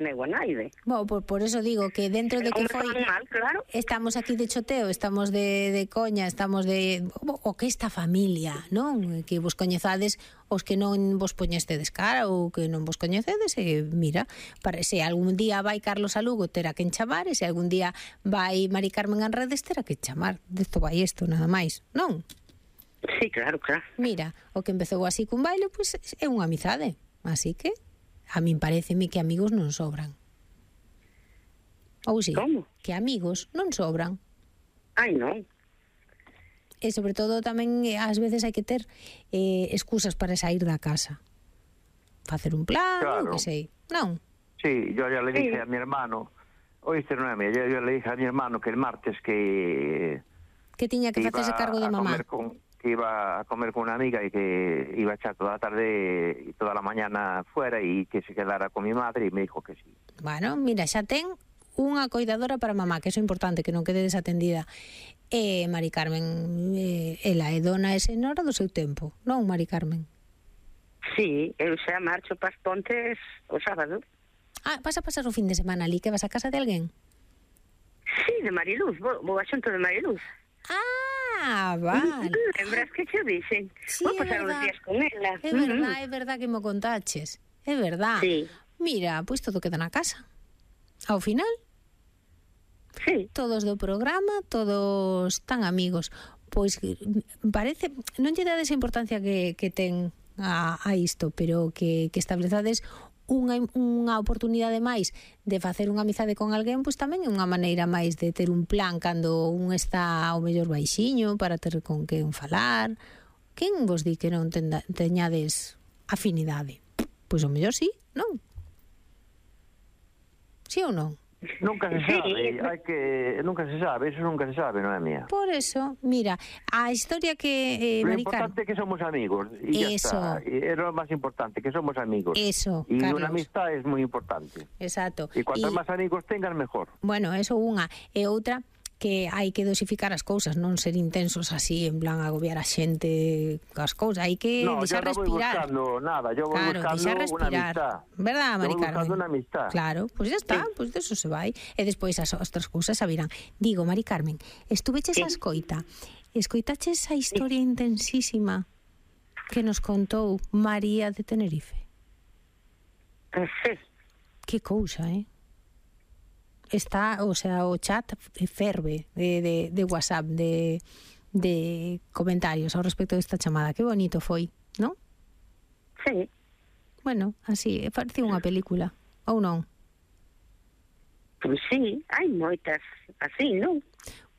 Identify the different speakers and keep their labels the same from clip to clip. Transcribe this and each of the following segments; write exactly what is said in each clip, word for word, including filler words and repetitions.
Speaker 1: Neu a naide.
Speaker 2: Bueno, por, por eso digo que dentro de que foi
Speaker 1: mal, claro.
Speaker 2: Estamos aquí de choteo, estamos de, de coña, estamos de o que esta familia, non? Que vos coñezades os que non vos poñestedes cara ou que non vos coñecedes e mira, para se algún día vai Carlos a Lugo terá que chamar e se algún día vai Mari Carmen Anredes terá que chamar. Desto vai isto, nada máis, non?
Speaker 1: Sí, claro, claro.
Speaker 2: Mira, o que empezou así cun baile, pois pues, é unha amizade, así que a min pareceme que amigos non sobran. Ou si,
Speaker 1: Como?
Speaker 2: que amigos non sobran.
Speaker 1: Ai, non.
Speaker 2: E sobre todo tamén ás veces hai que ter eh, excusas para sair da casa. Facer un plan,
Speaker 3: Claro.
Speaker 2: o que sei. Non?
Speaker 3: Sí, yo ya le dije
Speaker 1: Sí.
Speaker 3: a mi hermano, oíste, Noemia, yo, yo le dije a mi hermano que el martes que...
Speaker 2: Que tiña que
Speaker 3: iba
Speaker 2: facerse cargo de
Speaker 3: a
Speaker 2: mamá.
Speaker 3: comer con, que iba a comer con una amiga y que iba a echar toda la tarde y toda la mañana fuera y que se quedara con mi madre y me dijo que sí.
Speaker 2: Bueno, mira, xa ten unha coidadora para mamá, que eso é importante, que non quede desatendida. E Mari Carmen, eh, ela é dona e senhora do seu tempo, non, Mari Carmen?
Speaker 1: Sí, eu xa marcho pas Pontes o sábado.
Speaker 2: Ah, vas a pasar o fin de semana ali, que vas a casa de alguén?
Speaker 1: Sí, de Mariluz, vou, vou a xunto de Mariluz.
Speaker 2: Ah, vale.
Speaker 1: Lembras que che dixen?
Speaker 2: Sí,
Speaker 1: Vou
Speaker 2: é
Speaker 1: pasar uns
Speaker 2: verdad.
Speaker 1: días con ela.
Speaker 2: É verdad, é verdad que me contaches. É verdad.
Speaker 1: Sí.
Speaker 2: Mira, pois todo queda na casa. Ao final,
Speaker 1: Sí.
Speaker 2: todos do programa, todos tan amigos. Pois parece, non lle dades a importancia que, que ten a, a isto, pero que, que establezades unha, unha oportunidade máis de facer unha amizade con alguén, pois tamén é unha maneira máis de ter un plan cando un está ao mellor baixiño para ter con quen falar. Quen vos di que non tenda, teñades afinidade? Pois o mellor sí, non? Sí ou non?
Speaker 3: Nunca se
Speaker 1: Sí.
Speaker 3: sabe, hay que, nunca se sabe, eso nunca se sabe, no es mía.
Speaker 2: Por eso, mira, a historia que eh,
Speaker 3: Lo
Speaker 2: Mari Carmen,
Speaker 3: importante es que somos amigos y ya
Speaker 2: Eso.
Speaker 3: está. Y es lo más importante, que somos amigos.
Speaker 2: Eso,
Speaker 3: y
Speaker 2: Carlos.
Speaker 3: una amistad es muy importante.
Speaker 2: Exacto.
Speaker 3: Y cuantos
Speaker 2: Y-
Speaker 3: más amigos tengas, mejor.
Speaker 2: Bueno, eso unha. E outra, que hai que dosificar as cousas, non ser intensos así, en plan agobiar a xente cas cousas. Hai que
Speaker 3: No, yo
Speaker 2: deixar
Speaker 3: no voy
Speaker 2: respirar.
Speaker 3: buscando nada, yo voy
Speaker 2: Claro,
Speaker 3: buscando
Speaker 2: deixar
Speaker 3: una
Speaker 2: respirar.
Speaker 3: amistad.
Speaker 2: Verdad,
Speaker 3: Yo
Speaker 2: Mari
Speaker 3: voy
Speaker 2: Carmen?
Speaker 3: buscando una amistad.
Speaker 2: Claro, pois pues ya está, pois pues de eso se vai. E despois as outras cousas sabirán. Digo, Mari Carmen, estuveches
Speaker 1: Sí.
Speaker 2: a escoita. Escoitaches a historia intensísima que nos contou María de Tenerife.
Speaker 1: Eh, Sí.
Speaker 2: Que cousa, eh? Está, o sea, o chat ferve de, de, de WhatsApp, de, de comentarios ao respecto desta chamada. Que bonito foi, non?
Speaker 1: Sí.
Speaker 2: Bueno, así, parecía unha película, ou non?
Speaker 1: Pois sí, hai moitas así, non?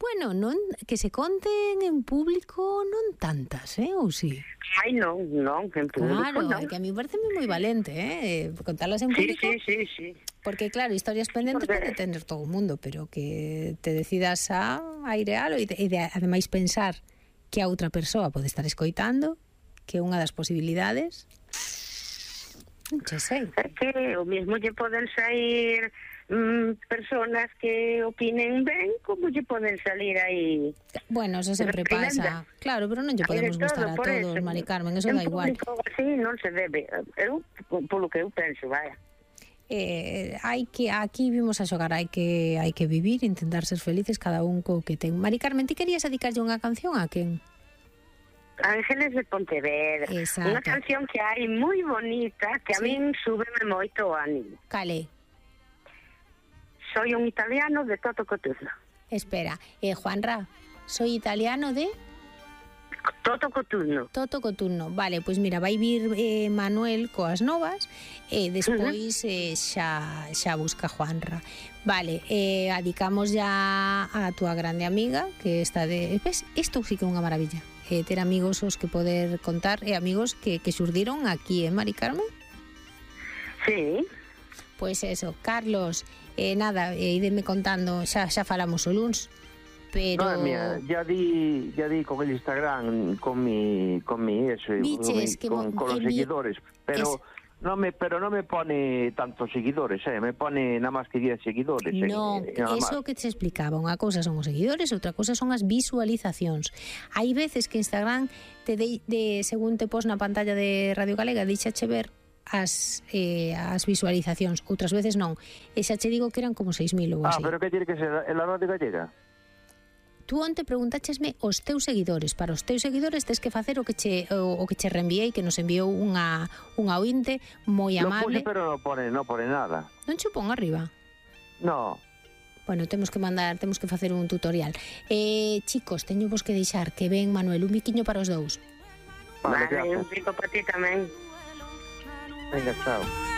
Speaker 2: Bueno, non, que se conten en público non tantas, eh, ou si?
Speaker 1: Ai, non, non, en público
Speaker 2: Claro,
Speaker 1: non.
Speaker 2: é que a mí parece moi valente, eh, contarlas en
Speaker 1: Sí,
Speaker 2: público.
Speaker 1: sí, sí, sí.
Speaker 2: Porque claro, historias pendentes
Speaker 1: Porque-
Speaker 2: pode tener todo o mundo, pero que te decidas a airealo e, de, e de, ademais pensar que a outra persoa pode estar escoitando, que é unha das posibilidades. Non che sei.
Speaker 1: É que o mesmo lle poden sair mm, personas que opinen ben, como lle poden salir aí.
Speaker 2: Bueno, eso sempre pasa. Claro, pero non lle
Speaker 1: Hai de
Speaker 2: podemos gustar a
Speaker 1: todo, por
Speaker 2: todos,
Speaker 1: eso.
Speaker 2: Mari Carmen, eso
Speaker 1: En
Speaker 2: da igual.
Speaker 1: público así non se debe. Eu, polo que eu penso, vaya.
Speaker 2: Eh, hai que aquí vimos a xogar, hai que hai que vivir, intentar ser felices cada un co que ten. Mari Carmen, ti querías dedicarlle unha canción a quen?
Speaker 1: Ángeles de Pontevedra.
Speaker 2: Exacto.
Speaker 1: Unha canción que hai moi bonita, que a
Speaker 2: Sí.
Speaker 1: min súbeme moito o ánimo.
Speaker 2: Cale,
Speaker 1: Soy un italiano de Toto Cotugno.
Speaker 2: espera, eh, Juanra, soy italiano de
Speaker 1: Toto Cotugno.
Speaker 2: Toto Coturno. Vale, pois mira, vai vir eh, Manuel coas novas e despois eh, xa, xa busca Juanra. Vale, eh, adicamos ya a túa grande amiga que está de... Ves, isto sí que é unha maravilla. Eh, ter amigos os que poder contar e amigos que, que xurdiron aquí, eh, Mari Carmen?
Speaker 1: Sí.
Speaker 2: Pois eso, Carlos, eh, nada, eh, ideme contando, xa, xa falamos o luns, pero...
Speaker 3: No, mía, ya di, ya di con el Instagram, con mi, con mi eso,
Speaker 2: Biches,
Speaker 3: con, mi-
Speaker 2: que
Speaker 3: con,
Speaker 2: mo-
Speaker 3: con los
Speaker 2: en mi-
Speaker 3: seguidores, pero
Speaker 2: es-
Speaker 3: no me, pero no me pone tantos seguidores, eh, me pone nada más que diez seguidores. eh,
Speaker 2: Non,
Speaker 3: eh, nada
Speaker 2: eso
Speaker 3: más.
Speaker 2: que te explicaba, unha cousa son os seguidores, outra cousa son as visualizacións. Hai veces que Instagram te de, de según te pos na pantalla de Radio Galega, díxache ver as, eh, as visualizacións, outras veces non. E xa che digo que eran como seis mil ou
Speaker 3: Ah,
Speaker 2: así.
Speaker 3: pero que tiene que ser la radio gallega?
Speaker 2: Tú onte preguntáchesme os teus seguidores. Para os teus seguidores tes que facer o que che o, o que che reenviei, que nos enviou unha unha ointe moi
Speaker 3: Lo
Speaker 2: amable.
Speaker 3: puse, pero no pone, no pone nada.
Speaker 2: Non che pon arriba.
Speaker 3: No.
Speaker 2: Bueno, temos que mandar, temos que facer un tutorial. Eh, chicos, teño vos que deixar que ven, Manuel, un biquiño para os dous.
Speaker 3: Vale,
Speaker 1: Vale,
Speaker 3: gracias.
Speaker 1: un pico para ti tamén.
Speaker 3: Venga, chao.